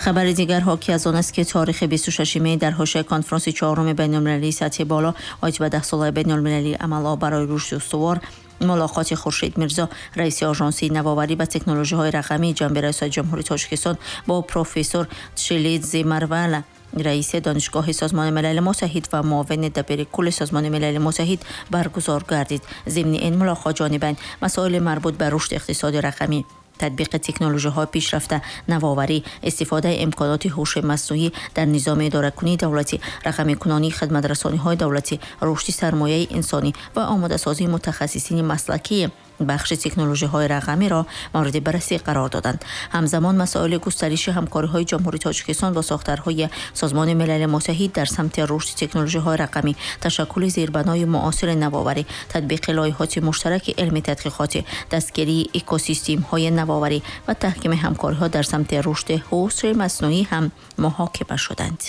Хабари дигар ҳоки аз он аст, ки таърихи 26 май дар ҳошияи конфронси чаҳоруми байналмилалии сатҳи боло оид ба 10-солаи байналмилалии амалҳо барои рушди устувор, мулоқоти Хуршед Мирзо, раиси Ожонсии навоварӣ ва технологияҳои рақамии ҷанби Раёсати Ҷумҳурии Тоҷикистон, бо профессор Тшилидзи Марвала, раиси Донишгоҳи Созмони Милали Муттаҳид ва муовини дабири кулли Созмони Милали Муттаҳид баргузор гардид. Зимни ин мулоқот ҷонибайн масоили марбут ба рушди иқтисоди рақамӣ, татбиқи технологияҳои пешрафта, навоварӣ, истифодаи имконоти ҳуши маснӯӣ дар низоми идоракунии давлатӣ, рақамикунонии хидматрасониҳои давлатӣ, рушди сармояи инсонӣ ва омодасозии мутахассисини маслакии бахши технологияҳои рақамиро мавриди баррасӣ қарор доданд. Ҳамзамон масоили густариши ҳамкориҳои Ҷумҳурии Тоҷикистон бо сохторҳои Созмони Милали Муттаҳид дар самти рушди технологияҳои рақамӣ, ташаккули зербанои муосири навоварӣ, татбиқи лоиҳоти муштараки илми тадқиқотӣ, дастгирии экосистемҳои навоварӣ ва таҳкими ҳамкориҳо дар самти рушди ҳуши маснӯӣ ҳам муҳокима шуданд.